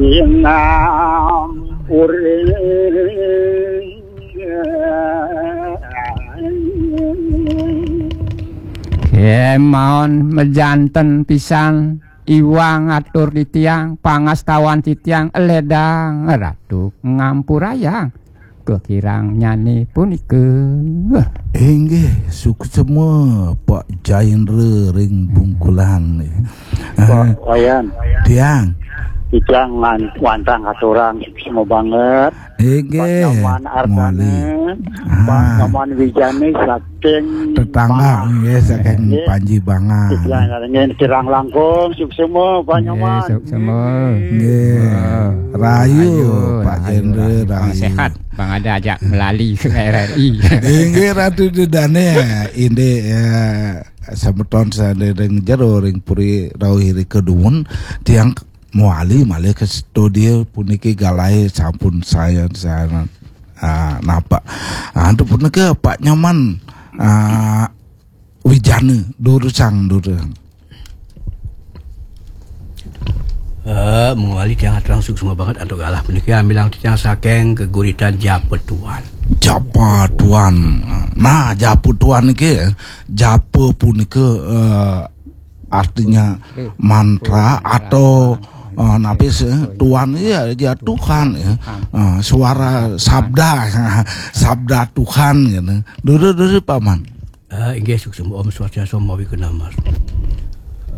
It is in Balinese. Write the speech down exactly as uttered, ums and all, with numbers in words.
Inam uring. Kemaon mejanten pisan iwang atur titiang, pangastawan titiang ledang Ratu ngampurayang kekirang nyane punika. Inggih, suksema Pak Jaindra ring Bungkulan. Pak Wayan. Tiang. Tiang ngan-, wantah ngaturang suksema banget. Inggih. Pak Nyoman Ardana. Mawali. Pak Ah. Nyoman Wijane saking tetangga, Bangah. Nggih, saking Nggih. Panji Bangah. Tiang ngarengin kirang langkung, suksema, Pak Nggih, Nyoman. Suksema. Nggih. Ah. Rahayu, rahayu, Pak rahayu, Jendra, rahayu. Rahayu. Sehat, Bang Ada ajak melali ke R R I. Inggih, Ratu Ida Dane, indik, ya, semeton sane ring jero ring puri rauh irika dumun, tiang mawali malih ke studio puniki galahe sampun sayan-sayan, ah, napak. Ah, antuk punika Pak Nyoman, ah, Wijana, durusang, durusang. Eh, mawali tiang aturang suksma banget antuk galah puniki, amilang titiang saking geguritan Japa Tuan. Japa Tuan. Nah, Japa Tuan niki, japa punika, eh, artinya mantra atau, eh, napi sih, Tuan, ya, ya Tuhan, ya. Eh, suara sabda, sabda Tuhan, gitu. Dulu, dulu, Paman. Eh, inggih, suksma, Om Swastiastu, Om Awighnam.